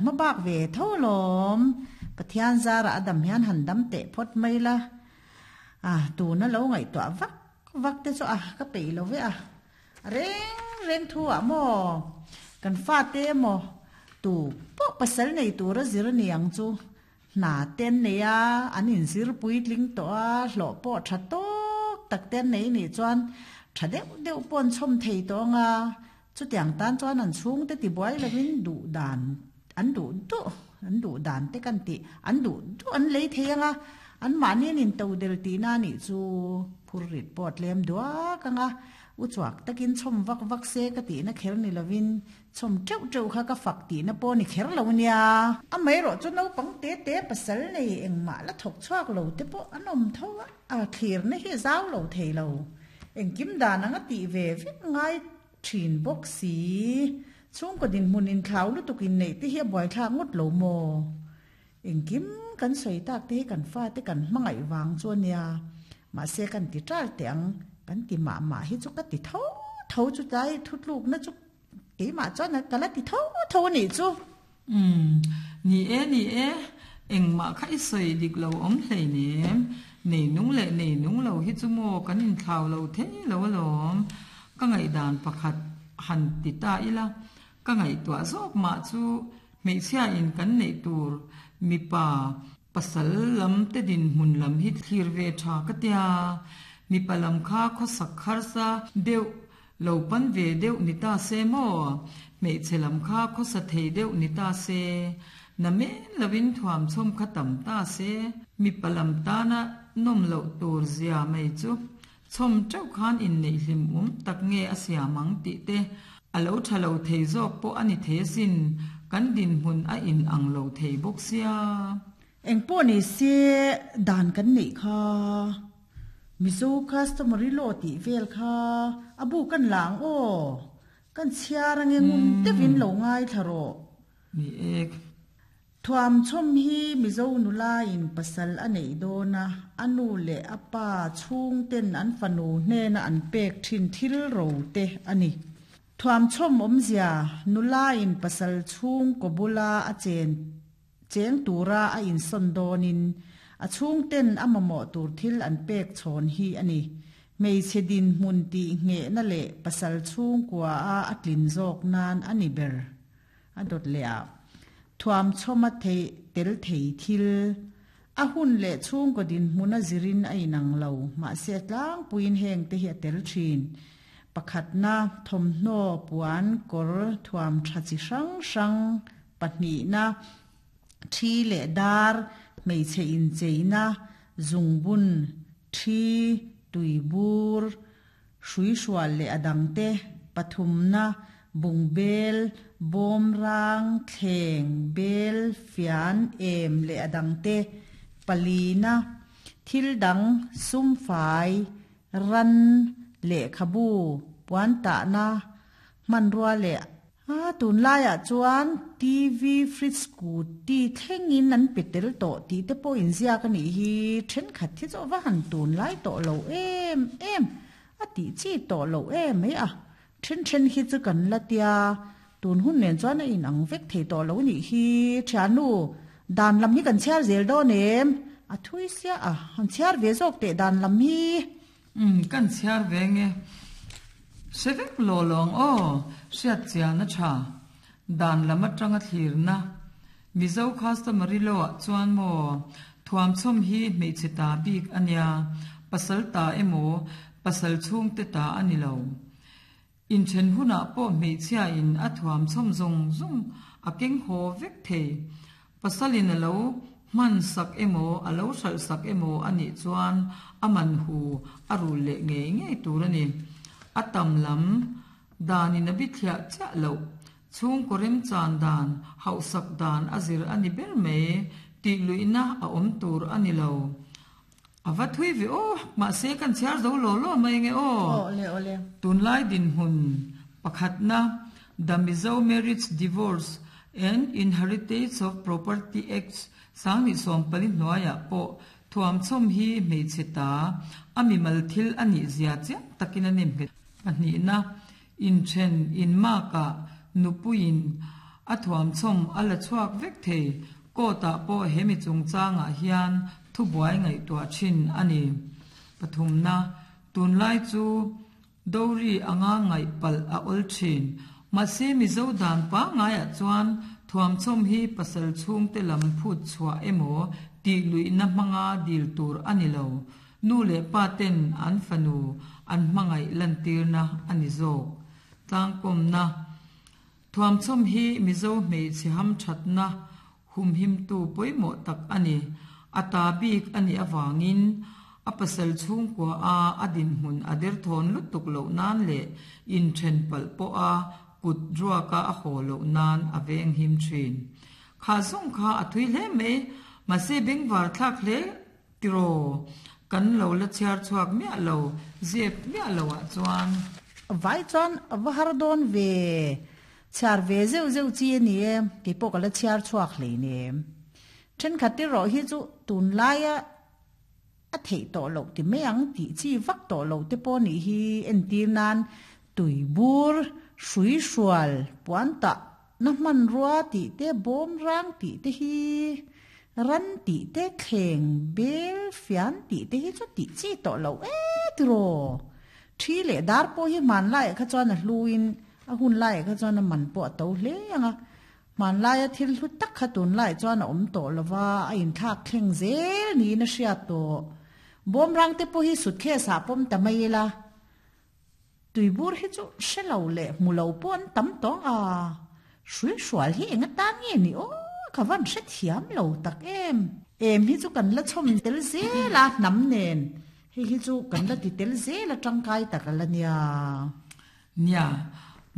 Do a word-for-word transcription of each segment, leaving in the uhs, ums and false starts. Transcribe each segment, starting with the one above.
Hmabak ve tho alawm. Pathian zarah a dam hian han dam teh phawt mai la. A, tuna lo ngaihtuah vak vak te chu a ka peih lo ve a. A reng reng thu ah maw? Kan fate emaw tu pawh pasal nei tura zir a ni ang chu. Hna te an nei a, an inzir puitling tawh a, hlawh pawh tha tawk tak te an nei nih chuan tha deuh deuh pawh an chhawm thei tawh ang a. Chutiang tan chuan an chhungte tibuai lovin duh dan an duh duh an duh dan te kan tih an duh duh an lei thei ang a, anmahni an intodel tihna a nih chu phur rit pawh a tlem duak ang a, u chuak takin chhawm vak vak se ka tihna kher ni lovin chhawm teuh teuh kha ka fak tihna pawh a ni kher lo nia. Amaherawh chu naupang te te pasal nei engmah la thawk chhuak lo te pawh an awm tho a, a thlirna hi a zau lo thei lo. Engkim dan anga tih ve vek ngai thin bawk si. Chhungkaw dinhmun inthlau lutuk inneih te hi a buaithlak ngawt lo maw? Engkim kan sawi tak te hi kan fate kan hmangaih vang chu a nia. Mahse kan ti ṭal teh ang, kan ti mah mah hi chu ka ti tho tho chu tlai thutlukna chu keimah chuan ka la ti tho tho a nih chu. Umm, ni e, ni e, engmah kha i sawi dik lo awm hleinem. Nei nung leh nei nung lo hi chu maw kan inthlau lo thei lo alawm. Ka ngaihdan pakhat han ti ta ila, ka ngaihtuah zawk mah chu hmeichhia in kan neih tur mipa pasal lam te dinhmun lam hi thlir ve tha ka tia. Mipa lam kha khawsak harsa deuh lo pan ve deuh ni ta se maw? Hmeichhe lam kha khawsa thei deuh ni ta se, na men lovin thuamchhawm kha tam ta se, mipa lam tana nawm loh tur zia mai chu chhawm teuh khan inneih hlim awm tak nge a siam ang tih te a lo tha lo thei zawk pawh a ni thei asin, kan dinhmun a in ang lo thei bawk sia. Engpawh ni se dan kan neih kha Mizo customary law tih vel kha a bu kan la ang aw, kan chhiar ange ngun deuhin lo ngaithla rawh. Ni ek. Thuamchhawm hi Mizo nulain pasal a neih dawn a, a nu leh a pa chhungten an fanu hnena an pek thin thil ro te a ni. Thuamchhawm awmzia, Nulain pasal chhungkaw bula a chen cheng tura a insawn dawnin a chhungten a mamawh tur thil an pek chhawn hi a ni. Hmeichhe dinhmun tih nghehna leh pasal chhungkua a a tlin zawk nan a ni ber. A dawt leh a, thuamchhawm a theih tel thei thil. A hun leh chhungkaw dinhmun a zirin a inang lo, mahse a tlangpuiin heng te hi a tel thin. Pakhatna, thawmhnaw, puan, kawr, thuam tha chi hrang hrang, pahnihna, thi leh dar, hmeichhe incheina, zungbun, thi, tuibur, hruihrual leh a dangte, pathumna, bungbel, bawmrang, thleng, bel, fian, em leh a dangte, palina, thil dang, sumfai, ran, lehkhabu, puantahna, hmanrua leh A, tunlaiah chuan T V, fridge, scooty thlengin an pe tel tawh tih te pawh inziak a nih hi. Thenkhat hi chu a va han tunlai tawh lo em em, a tih chi tawh loh em mai a. Then then hi chu kan la tia, tun hun nen chuan a inang vek thei tawh lo nih hi. Thiannu, dan lam hi kan chhiar zel dawn em? A thui sia a, han chhiar ve zawk teh dan lam hi. Umm, kan chhiar ve nge. Hre vek law lawng aw, hriat chian a tha. Dan lam atanga thlirna. Mizo customary law ah chuan maw, thuamchhawm hi hmeichhe ta bik a nia, pasal ta emaw, pasal chhungte ta a ni lo. Inthen hunah pawh hmeichhia in a thuamchhawm zawng zawng a keng haw vek thei. Pasalin a lo hman sak emaw, a lo hralh sak emaw a nih chuan a man hu a rul leh ngei ngei tur a ni. A tam lam danin a bithliah chiah loh. Chhungkaw remchan dan, hauhsak dan a zir a ni ber mai. Tih luihna a awm tur a ni lo. A va thui ve aw, mahse kan chhiar zo law law mai nge aw. Awle awle. Tunlai dinhmun pakhatna The Mizo Marriage Divorce and Inheritance of Property Act Sanghnih sawmpali hnuaiah pawh thuamchhawm hi hmeichhe ta a mimal thil a nih zia chiang takin a nem nghet. Pahnihna, inthen inmakah nupuiin A thuamchhawm a la chhuak vek thei. Court-ah pawh hemi chungchangah hian thubuai ngaihtuah thin a ni. Pathumna, Tunlai chu dowry anga ngaih palh a awl thin. Mahse Mizo dan pangngaiah chuan thuamchhawm hi pasal chhungte lam phut chhuah emaw tih luihna hmanga dil tur a ni lo. Nu leh pa ten an fanu an hmangaih lantirna a ni zawk. Tlangkawmna, Thuamchhawm hi Mizo hmeichhe hamthatna humhimtu pawimawh tak a ni. A ta bik a nih avangin a pasal chhungkua a a dinhmun a derthawn lutuk loh nan leh inthen palh pawha kut ruaka a haw loh nan a venghim thin. Kha zawng kha a thui hle mai, mahse bengvar thlak hle tiraw? Kan lo la chhiar chhuak miah lo, zep miah lo ah chuan. Vai chuan a va har dawn ve, chhiar ve zeuh zeuh chi a ni e, kei pawh ka la chhiar chhuak hleinem. Thenkhat erawh hi chu tunlaia a theih tawh loh ti mai ang tih chi vak tawh loh te pawh nih hi entir nan tuibur, hrui hrual, puan tah na hmanrua tih te, bawm rang tih te hi ran tih te, thleng bel fian tih te hi chu tih chi tawh loh e tiraw. Thi leh dar pawh hi hmanlaiah kha chuan a hluin a hun laiah kha chuan a man pawh a to hle ang a. Hmanlaia thil hlu tak kha tunlaiah chuan a awm tawh lo va, a inthlak thleng zel niin a hriat tawh. Bawmrang te pawh hi suitcase ah pawm ta mai ila, tuibur hi chu hre lo leh hmu lo pawh an tam tawh a, hrui hrual hi eng atan nge ni aw, ka van hrethiam lo tak em. Em hi chu kan la chhawm tel zel a, hnam nen hei hi chu kan la ti tel zel a tangkai tak a la nia. Nia,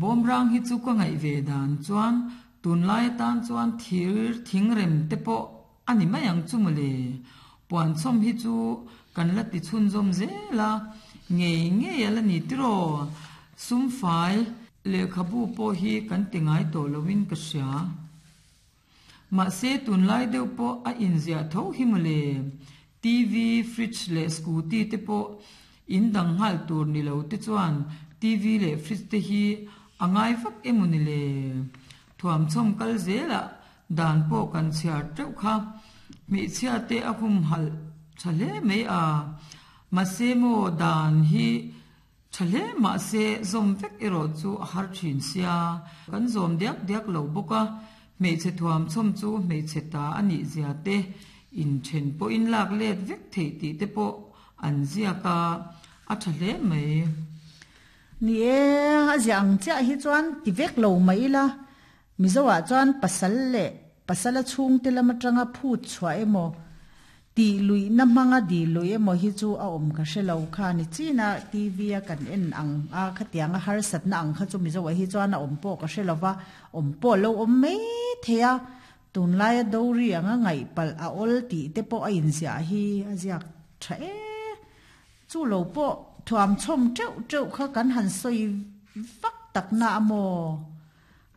bawmrang hi chu ka ngaih ve dan chuan tunlai atan chuan thir thingrem te pawh a ni mai ang chu mawle. Puanchhawm hi chu kan la ti chhunzawm zel a, ngei ngei a la ni tiraw. Sumfai lehkhabu pawh hi kan ti ngai tawh loin ka hria. Mahse tunlai deuh pawh a inziah tho hi mawle. T V, fridge leh scooty te pawh in dang nghal tur ni lo te chuan T V leh fridge te hi a ngai vak emaw ni le? Thuamchhawm kal zelah dan pawh kan chhiar teuh kha. Hmeichhia te a humhalh tha hle mai a. Mahse maw dan hi tha hle mahse zawm vek erawh chu a har thin sia. Kan zawm diak diak lo bawk a. Hmeichhe thuamchhawm chu hmeichhe ta a nih zia te, inthen pawhin lak let vek theih tih te pawh an ziak a, a tha hle mai. Ni e, a ziah ang chiah hi chuan ti vek lo mai ila, Mizoah chuan pasal leh pasala chhungte lam atanga phut chhuah emaw, tih luihna hmanga dil luih emaw hi chu a awm ka hre lo kha ni chin a, T V a kan en ang a, khatianga harsatna ang kha chu Mizoah hi chuan a awm pawh ka hre lo va, awm pawh lo awm mai thei a, tunlaia dowry anga ngaih palh a awl tih te pawh a inziah hi a ziak tha e. Chu lo pawh thuamchhawm teuh teuh kha kan han sawi vak takna a maw?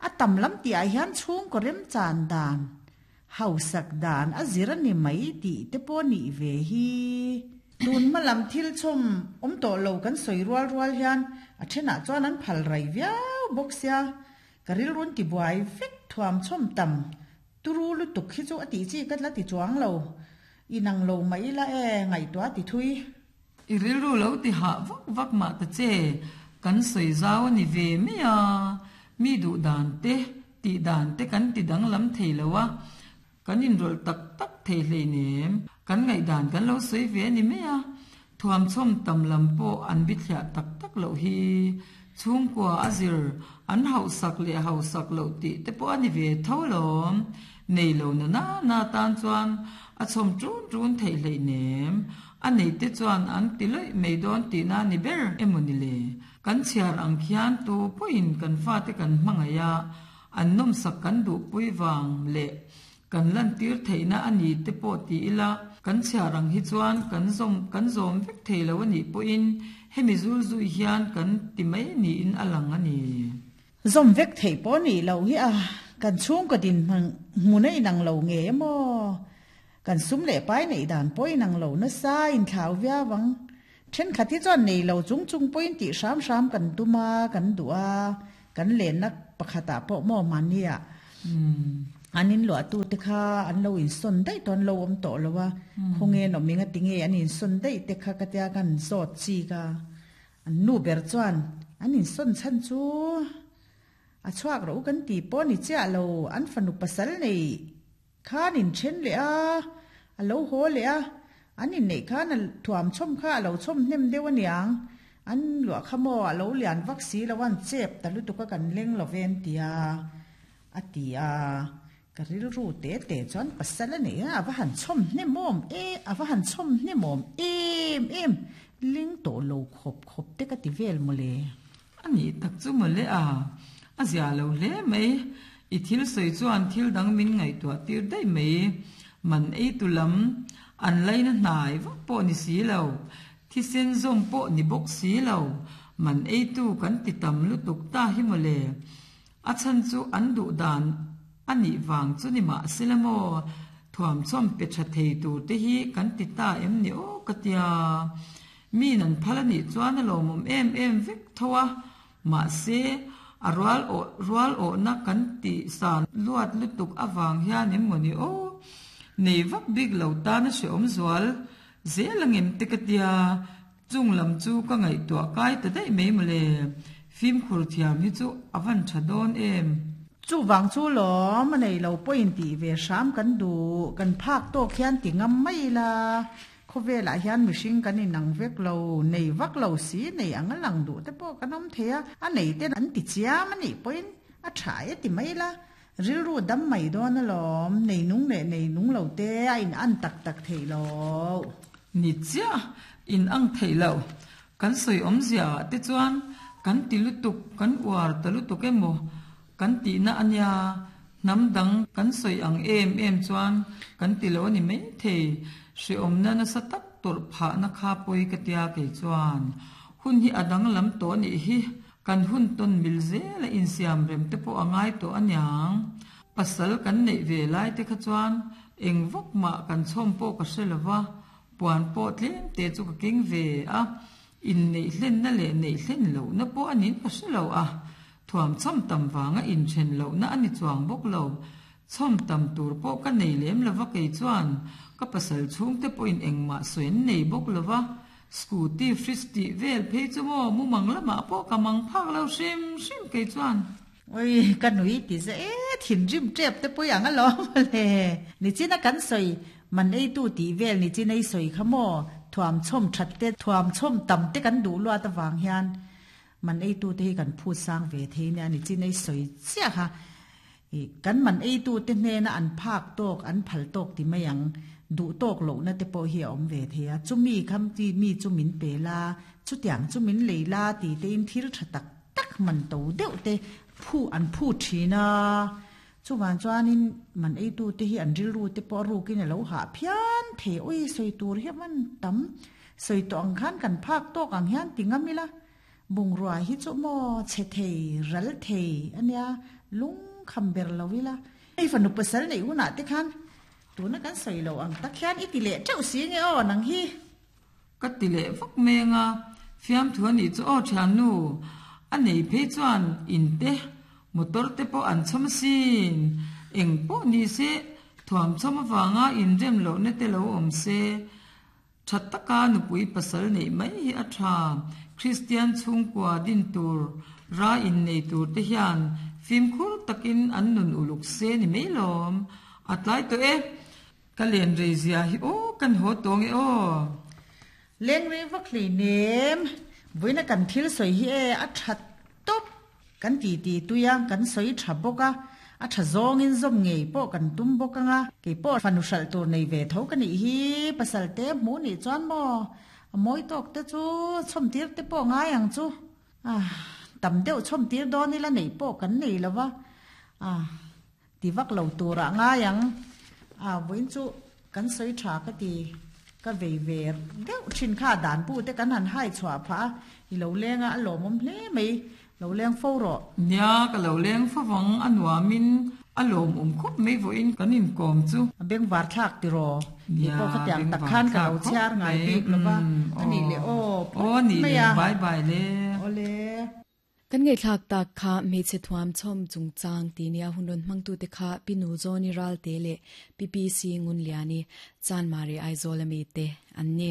A tam lam tihah hian chhungkaw remchan dan, hausak dan a zir a ni mai tih te pawh nih ve hi. Tun hma lam thil chhawm awm tawh lo kan sawi rual rual hian a thenah chuan an phal rai viau bawk sia, ka rilrun tibuai vek thuamchhawm tam turu lutuk hi chu a tih chi ka la ti chuang lo. Inang lo mai ila e, ngaihtuah ti thui. I rilru lo ti hah vak vak mah ta che, kan sawi zau a ni ve mai a, mi duh dan te, tih dan te kan ti danglam thei lo a, kan inrawlh tak tak thei hleinem, kan ngaihdan kan lo sawi ve a ni mai a, thuamchhawm tam lam pawh an bithliah tak tak loh hi, chhungkua a zir an hauhsak leh hausak loh tih te pawh a ni ve tho alawm, nei lo na na na tan chuan a chhawm ṭun ṭun theih hleinem, a neite chuan an ti lawih mai dawn tihna a ni ber emaw ni le? Kan chhiar ang khian tu pawhin kan fate kan hmangaih a, an nawmsak kan duhpui vang leh kan lantir theihna a ni te pawh ti ila, kan chhiar ang hi chuan kan zawm kan zawm vek thei lo a nih pawhin hemi zul zui hian kan ti mai niin a lang a ni. Zawm vek theih pawh nih loh hi a, kan chhungkaw dinhmun hmun a inang lo nge emaw? Kan sum leh pai neih dan pawh inang lo nasa inthlau viau ang. Thenkhat hi chuan nei lo chung chung pawhin tih hram hram kan tum a, kan duh a, kan lenna pakhatah pawh maw mahnia An in luahtu te kha an lo insawn daih tawh an lo awm tawh lo a, khawnge an awm eng a tinge an insawn daih te kha ka tia kan zawt chik a. An nu ber chuan an insawn chhan chu a chhuak rawh u kan tih pawh ni chiah lo, an fanu pasal nei khan inthen leh a, a lo haw leh a, an inneih khan a thuam chhawm kha a lo chhawm hnem deuh aniang, an luah kha maw a lo lian vak si lo a, an chep ta lutuk a kan leng lo ve an ti a, a ti a. Ka rilru te te chuan pasal a nei a, a va han chhawm hnem awm e, a va han chhawm hnem awm em em, ling tawh lo khawp khawp te ka ti vel mawle. A nih tak chu mawle a, a zia lo hle mai. I thil sawi chuan thil dang min ngaihtuah tir daih mai. Man ei tu lam an laina hnai vak pawh ni si lo, thisen zawm pawh ni bawk si lo, man ei tu kan ti tam lutuk ta hi mawle. A chhan chu an duh dan a nih vang chu ni mah sela maw, thuamchawm pe tha thei tur te hi kan ti ta em ni aw ka tia. Min an phal a nih chuan a lawmawm em em vek tho a, mahse a rual awh rual awhna kan tih san luat lutuk avang hian em maw ni aw, nei vak bik lo tan a hrehawm zual zel angem te ka tia, chung lam chu ka ngaihtuah kai ta daih mai mawle, fimkhur thiam hi chu a van tha dawn em. Chuvang chu lawm a nei lo pawhin tih ve hram kan duh, kan phak tawk hian ti ngam mai ila, khawvelah hian mihring kan inang vek lo, nei vak lo si nei ang a lang duh te pawh kan awm thei a, a nei ten an ti chiam a nih pawhin a tha e ti mai ila, rilru dam mai dawn alawm, nei nung leh nei nung lo te a in an tak tak theih lo. Ni chiah in ang theih lo, kan sawi awmzia ah te chuan kan ti lutuk, kan uar ta lutuk emaw kan tihna a nia, hnam dang kan sawi ang em em chuan kan ti lo a ni maithei, hrehawmna nasa tak tawrh phahna kha pawi ka tia kei chuan hun hi a danglam tawh a nih hi, kan hun tawn mil zel a insiam rem te pawh a ngai tawh aniang, pasal kan neih ve lai te kha chuan eng vak mah kan chhawm pawh ka hre lo va, puan pawh tlem te chu ka keng ve a, inneih hlenna leh neih hlen lohna pawh a niin ka hre lo a, thuam chhawm tam vanga inthen lohna a ni chuang bawk lo, chhawm tam tur pawh ka nei lem lo va kei chuan ka pasal chhungte pawhin engmah sawi an nei bawk lo va, scooty fridge tih vel phei chu maw mumang lamah pawh ka mang phak lo hrim hrim kei chuan. Oi, ka nui ti ze e, thinrim tep te pawh ang alawm mawle. Nichina kan sawi, man eitu tih vel nichina i sawi kha maw, thuam chhawm that te, thuam chhawm tam te kan duh luat avang hian man eitu te hi kan phut sang ve thei nia nichina i sawi chiah kha. Kan man eitu te hnena an phak tawk, an phal tawk ti mai ang, duh tawk lohna te pawh hi a awm ve thei a, chumi kham ti mi chu min pe la, chutiang chu min lei la ti te in thil tha tak tak man to deuh te phu an phu thin a, chuvan chuanin man eitu te hi an rilru te pawh a rukin a lo hah phian thei, oi sawi tur hi man tam, sawi tawh ang khan kan phak tawk ang hian ti ngam ila, bungrua hi chu maw chhe thei ral thei ania lung kham ber lo ila, hei fanu pasal nei hunah te khan tuna kan sawi lo ang tak hian i ti leh teuh si nge aw nang hi. Ka ti leh vak meng a, fiamthu a nih chu aw thiannu, a nei phei chuan in te motor te pawh an chhawm asin, eng pawh ni se thuam chhawm avanga inrem lohna te lo awm se, tha taka nupui pasal neih mai hi a tha, Kristian chhungkua din tur ra innei tur te hian fimkhur takin an nun uluk se ni mai lawm, a tlai tawh e, ka len rei zia hi aw kan haw tawng e aw. Leng rei vak hlei nem, vawiina kan thil sawi hi e a tha tawp, kan ti ti tui a, kan sawi tha bawk a, a tha zawngin zawm ngei pawh kan tum bawk anga, kei pawh fanu hralh tur nei ve tho ka nih hi, pasal te hmuh nih chuan maw a mawi tawk te chu chhawm tir te pawh ngai ang chu, ah tam deuh chhawm tir dawn ila neih pawh kan nei lo va, ah ti vak lo turah ngai ang, ah vawiin chu kan sawi tha ka ti, ka vei ve deuh thin kha dan pu te kan han hai chhuah phah a, i lo leng a a lawmawm hle mai, lo leng fo rawh. Nia, ka lo leng favang a nuamin a lawmawm khawp mai vawiin kan inkawm chu. A bengvar thlak ti raw, ni pawh khatiang tak khan ka lo chhiar ngai bik lo va, a nih leh aw phawt mai a. Bye bye le. Awle. Kan ngai thlak tak kha me che thuam chom chung chang ti nia hunron mangtu te kha pinu zoni ral te le P P C ngun liani chan mari Aizawl ami te an ni.